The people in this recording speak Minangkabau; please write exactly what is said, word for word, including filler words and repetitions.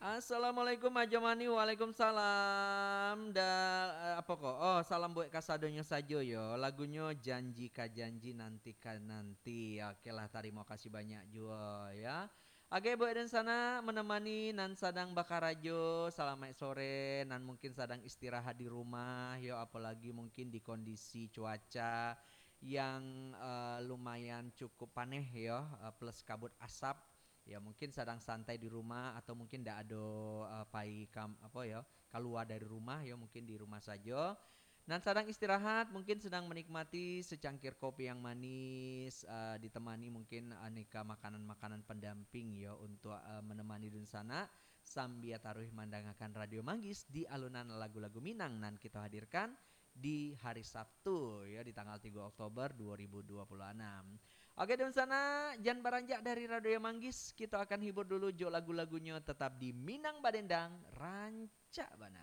Assalamualaikum Ajo Mani. Waalaikumsalam. Da, eh, apa ko? Oh, salam buat kasadonyo sajo yo. Lagunyo Janji Ka Janji, Nanti Ka Nanti. Oke lah, tarimo kasih banyak juo ya. Oke, buat dunsanak menemani nan sadang bakarajo, salamaik sore, nan mungkin sadang istirahat di rumah yo, apalagi mungkin di kondisi cuaca yang eh, lumayan cukup paneh yo, eh, plus kabut asap. Ya, mungkin sadang santai di rumah atau mungkin ndak ado eh, pai kam apa yo, kalua dari rumah yo, mungkin di rumah sajo. Nan sadang istirahat mungkin sedang menikmati secangkir kopi yang manis, eh, ditemani mungkin aneka makanan-makanan pendamping yo untuk eh, menemani dunsanak sambia taruih mandangakan Radio Manggis di alunan lagu-lagu Minang nan kito hadirkan di hari Sabtu yo, di tanggal tigo Oktober dua ribu dua puluh enam. Oke, dunsanak, jan baranjak dari Radio Manggis, kito akan hibur dulu jo lagu-lagunyo tetap di Minang Badendang, rancak bana.